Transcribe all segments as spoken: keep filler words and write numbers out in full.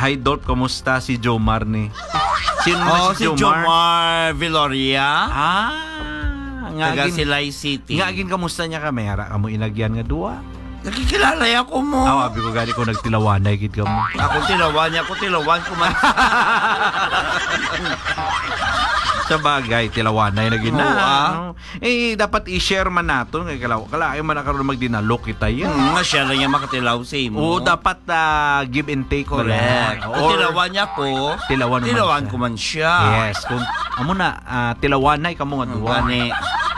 Hi, Dolph, kamusta si Jomar ni? Sino na Oh, si si Jomar? Jomar Viloria. Ah, nga Taga agin, Silay City. Nga agin, kamusta niya ka? May ara ka mo inagyan nga duwa? Nakikilala ya ko mo. Aw, abi ko gani ko nagtilawanay gid ka mo. Ako tilawan niya, ako tilawan ko man. Sa bagay, tilawanay na gid na, Oo, ah. no? Eh, dapat i-share man nato nga kalaw-, kalayo man na karon magdinalok kita yan. Hmm, nga siya lang yung makatilaw sa imo. Oo, dapat, ah, give and take man Correct. lang. Kung Or tilawan niya ko, tilawan mo man tilawan siya. ko man siya. Yes, kung amo na, ah, tilawanay kamo nga Ang duwa. gani.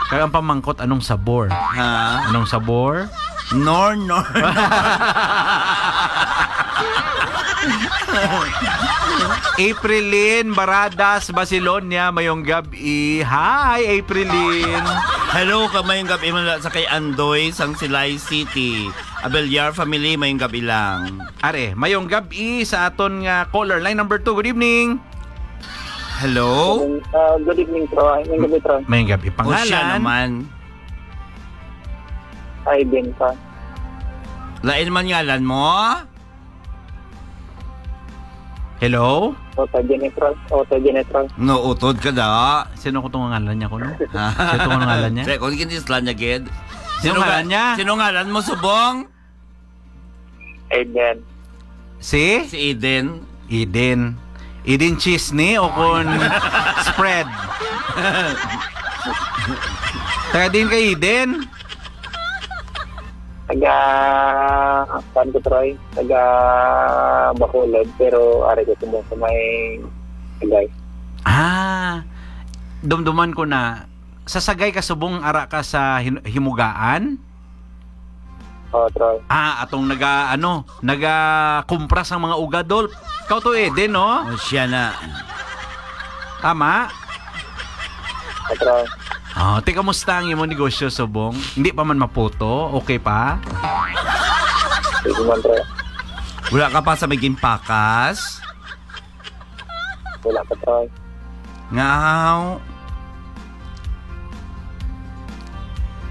Kaya ang pamangkot, anong sabor? Ha? Anong sabor? Nor, nor. Aprilin Baradas Basilonia, mayong gab-i. Hi, Aprilin. Hello, ka mayong gab-i man sa kay Andoy, sang Silay City. Abelyar family, mayong gab-i lang. Are, mayong gab-i sa aton nga caller. Line number two, good evening. Hello? Ah, good evening, Troy. Mayong gab-i, Troy. Mayong gab-i. O, siya Pangalan? naman. Ay, din pa. Lain man ngalan mo? Hello? Oto Genetral. Oto Genetral. No, utod ka da. Sino ko tong ngalan niya kuno? Sino tong ngalan niya? Sino kung kinislan niya, gid? Sino Sino nga-, ngalan niya? sino ngalan mo, subong? Aiden. Si? Si Eden. Eden. Eden cheese ni o kun spread? Taga din kay Eden? Taga, kuan ko, Troy? Taga Bacolod, pero ari ko subong sa may Sagay. Ah, dumduman ko na. Sa Sagay ka subong, ara ka sa hin-, Himugaan? Oo, Troy. Ah, atong naga, ano, naga kumpra sang mga uga, Dolph. Ikaw to, Eden, no? O, siya na. Tama? Oo, Troy. Oh, ti, kamusta ang imong negosyo, subong? Hindi pa man maputo? Okay pa? Sige man, Troy. Wala ka pa sa may ginpakas? Wala pa, Troy. Ngaw.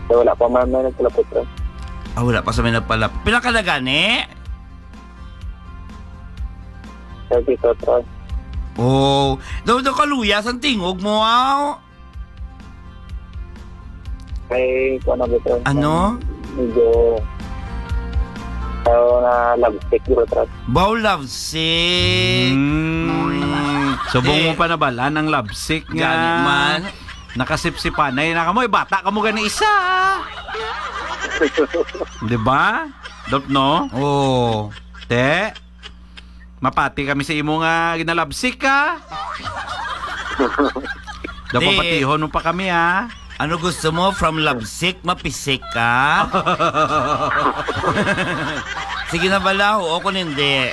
So, wala pa man may nagpalapot, Troy. Ah, wala pa sa may nagpalap-, pila ka na gani? Thirty-two, Troy. Oh, daw, daw kaluyas ang tingog mo, aw. Kay, kuwan na ba, Troy? Ano? Medyo, tao na love sick, bro, Troy. Baw love sick. Mm. Mm. Subong mo Eh. pa nabalaan ang love sick nga Gani man. Nakasipsipanay na kamo. Eh, bata kamo gani isa. Di ba? Dop, no? Oo. Te? Mapati kami sa imo nga ginalabsik ka. Dapat Di. patihon mo pa kami, ha? Ano gusto mo? From lovesick, mapisik ka? Sige na bala, oo kung hindi.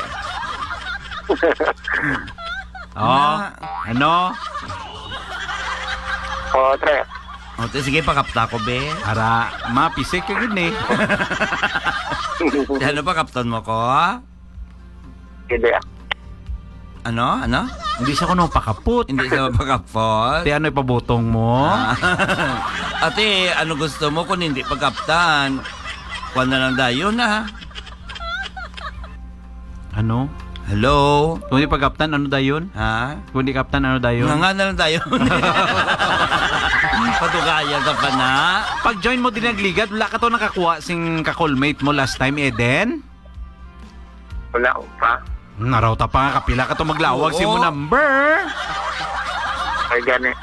Oh, Na- ano? Oo, Tre. O, te, sige, pakapta ko, be. Ara, mapisik ka gid ni. Ano, pakapton mo ko? Hindi, ah. Ano? Ano? Hindi siya kuno pakapot. Hindi siya pakapot? Te, ano ipabutong mo? Ah. Ate, ano gusto mo kung hindi pagkaptan? Kuha na lang dayon, ah. Ano? Hello? Kung di pagkaptan, ano dayon? Ha? Kung di kaptan, ano dayon? Nga, nga na lang dayon. Patugaya ka pa na. Pag-join mo din nagligad, wala ka to nakakuha sing ka-callmate mo last time, Eden? Wala pa. Naraw ta pa nga, kapila ka to maglawag Oo. sa imo number? Ay, gani.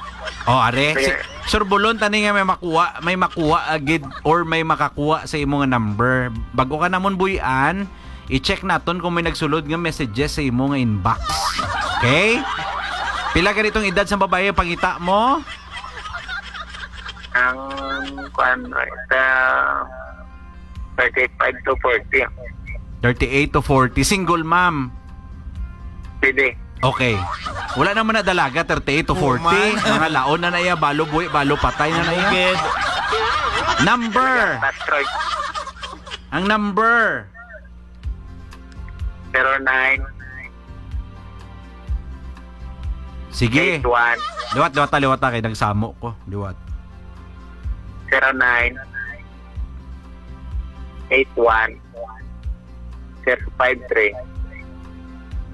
Oh, are. Kaya si, Sir Bulon, tani nga may makuha, may makuha agid or may makakuha sa imo nga number. Bago ka namon buy-an, i-check naton kung may nagsulod nga messages sa imo nga inbox. Okay? Pila ka ditong edad sa babae ang pangita mo? Ang, kuwan, sa thirty-five to forty. Thirty-eight to forty. Single mom. Pwede. Okay. Wala naman na dalaga, thirty-eight to Oo, forty. man. Mga laon na na iya, balo buhi, balo patay na na iya. Bukid. Number. That's right. Ang number. Zero nine. Sige. Eight one. Liwat, liwat ta, liwat ta, kay nagsamo ko. Liwat. Zero nine, eight one, zero five three,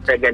seven